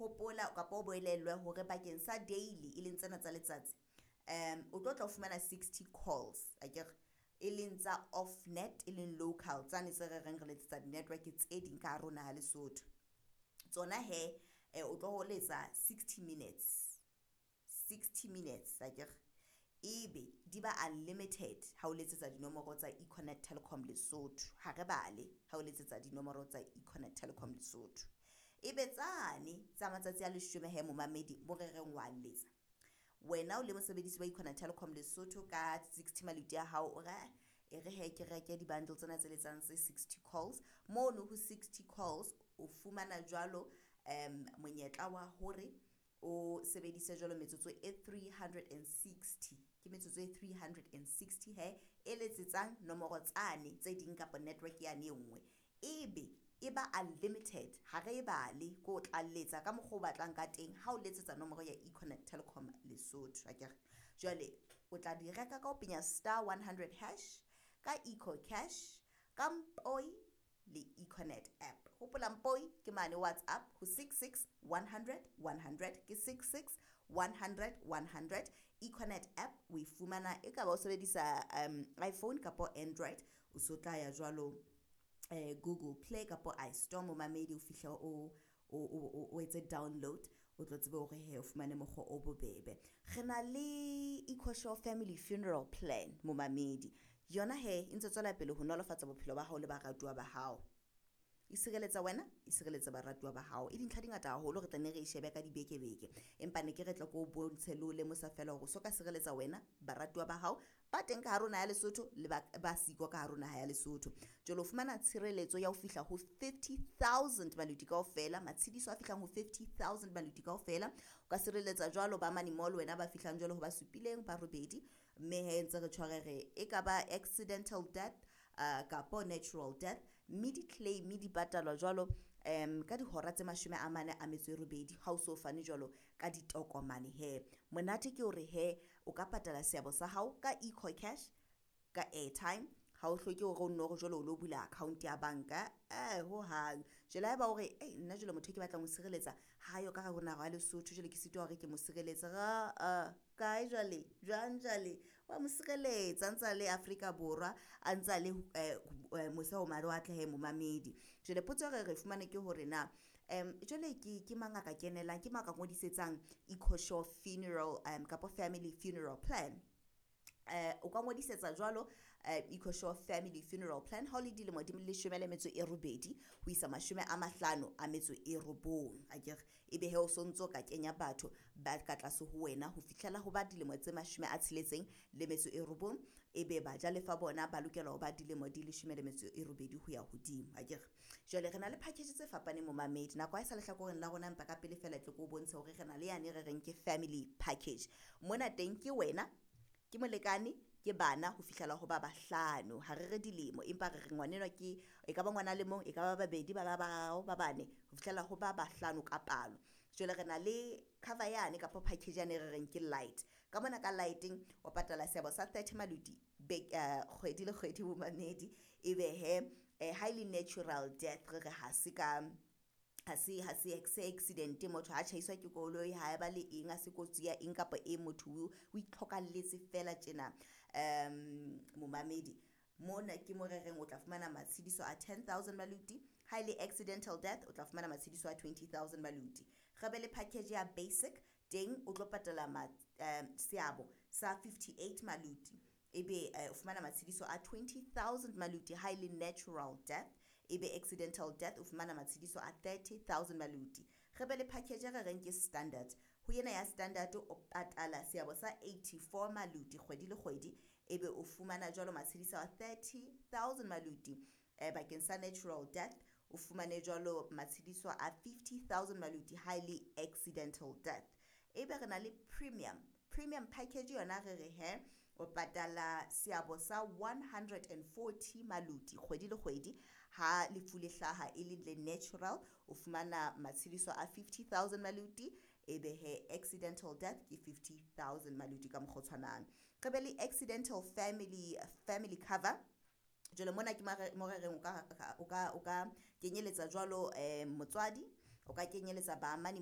Hopola kapa o boelellwe hore bakeng sa daily e leng tsena tsa letsatsi, o tlo tla o fumana 60 calls akere, e leng tsa off net e leng local tsane tse re reng re letsetsa di-network tse ding ka hare ho naha Lesotho. Tsona hee o tlo letsa 60 minutes, 60 minutes akere, ebe di ba unlimited ha o letsetsa dinomoro tsa Econet Telecom Lesotho, ha re bale ha o letsetsa dinomoro tsa Econet Telecom Lesotho. Ebe tsane tsa matsatsi a leshome hee momamedi mo re reng wa letsa, wena o le mosebedisi wa Econet Telecom Lesotho ka 60 maluti a hao o re e re hee ke reke di-bundle tsena tse letsang tse 60 calls, mono ho 60 calls o fumana jwalo monyetla wa hore o sebedise jwalo metsotso e 360, ke metsotso e 360 hee e letsetsang nomoro tsane tse ding kapa network yane e ngwe, ebe e ba unlimited ha re e bale ke o tla letsa ka mokgwa o batlang ka teng ha o letsetsa nomoro ya Econet Telecom Lesotho akere. Jwale o tla di reka ka ho penya star 100 hash ka EcoCash, ka Mpoi le Econet app. Hopola Mpoi ke mane WhatsApp ho 66 100 100, ke 66 100 100. Econet app o e fumana e ka ba o sebedisa iPhone kapa Android, o so tla ya jwalo Google Play kapa iStore momamedi o fihle o etse download, o tlo tsebe hore he o fumane mokgwa o bobebe. Re na le EcoSure Family Funeral Plan momamedi, yona he e ntse tswela pele ho nolofatsa bophelo ba hao le baratuwa ba hao. E sireletsa wena, e sireletsa baratuwa ba hao. E dintlha di ngata haholo re tla nne re e shebe ka dibeke beke, empa ne ke re tle ke o bontshe le ho lemosa feela hore o so ka sireletsa wena, baratuwa ba hao ba teng ka hare ho naha ya Lesotho le ba siko ka hare ho naha ya Lesotho. Jwale o fumana tshireletso ya ho fihla ho 50 000 maluti kaofela, matshidiso a fihlang ho 50 000 maluti kaofela. O ka sireletsa jwalo ba mane mall wena ba fihlang jwalo ho ba supileng ba robedi, mme hee ntse re tjho re re e ka ba accidental death kapo natural death, mme di-claim di patalwa jwalo ka dihora tse 48 ha o so fane jwalo ka ditokomane hee. Monate ke hore hee o ka patala seabo sa hao ka EcoCash, ka airtime, ha o hloke hore o nno re jwale o lo bula account ya banka hohang. Jwale haeba o re nna jwale motho e ke batlang ho sireletsa ha yo ka hare ho naha ya Lesotho jwale ke sitwa hore ke mo sireletse, kae jwale jwang jwale wa mo sireletsa a ntsa le Afrika Borwa, a ntsa le mose ho mawatle hee momamedi. Jwale potso e re fumane ke hore na jwale ke mang a ka kenelang, ke mang a ka ngodisetsang EcoSure Funeral kapo Family Funeral Plan? O ka ngodisetsa jwalo EcoSure Family Funeral Plan ha o le dilemo di 18 ho isa 59 akere, ebe he o sontso ka kenya batho ba ka tlase ho wena ho fihlela ho ba dilemo tse 69, ebe bajalefa bona ba lokela ho ba dilemo di 18 ho ya hodimo akere. Jwale re na le package tse fapaneng momamedi, nako ha e sa lehlakoreng la rona, empa ka pele feela tle ke o bontshe hore re na le yane re reng ke family package. Mona teng ke wena, ke molekane, ke bana ho fihlela ho ba bahlano, ha re re dilemo empa re re ngwanenwa ke e ka ba ngwana le mong, e ka ba babedi, ba ba bararo, ba bane ho fihlela ho ba bahlano ka palo. Jwale re na le cover yane kapa package yane re reng ke light. Ka mona ka light-eng o patala seabo sa 30 maluti kgwedi le kgwedi momamedi, ebe he ha e le natural death re re ha se ka ha se accident, motho ha tjhaiswa ke koloi, ha e ba le eng, ha se kotsi ya eng kapa e motho o itlhokalletse fela tjena momamedi. Mona ke mo re reng o tla fumana matshidiso a 10 000 maluti, ha e le accidental death o tla fumana matshidiso a 20 000 maluti. Re be le package ya basic teng o tlo patala seabo sa 58 maluti, ebe o fumana matshidiso a 20 000 maluti ha e le natural death, ebe accidental death o fumana matshidiso a 30 000 maluti. Re be le package e re reng ke standard, ho ena ya standard o patala seabo sa 84 maluti kgwedi le kgwedi, ebe o fumana jwalo matshidiso a 30 000 maluti bakeng sa natural death, o fumane jwalo matshidiso a 50 000 maluti ha e le accidental death. Ebe re na le premium package yona re re he o patala seabo sa 140 maluti kgwedi le kgwedi, ha lefu le hlaha e le le natural o fumana matshidiso a 50 000 maluti, ebe he accidental death ke 50 000 maluti ka mokgwa o tshwanang. Re be le accidental family cover. Jwale mona ke mo re reng o ka kenyeletsa jwalo motswadi, o ka kenyeletsa baamani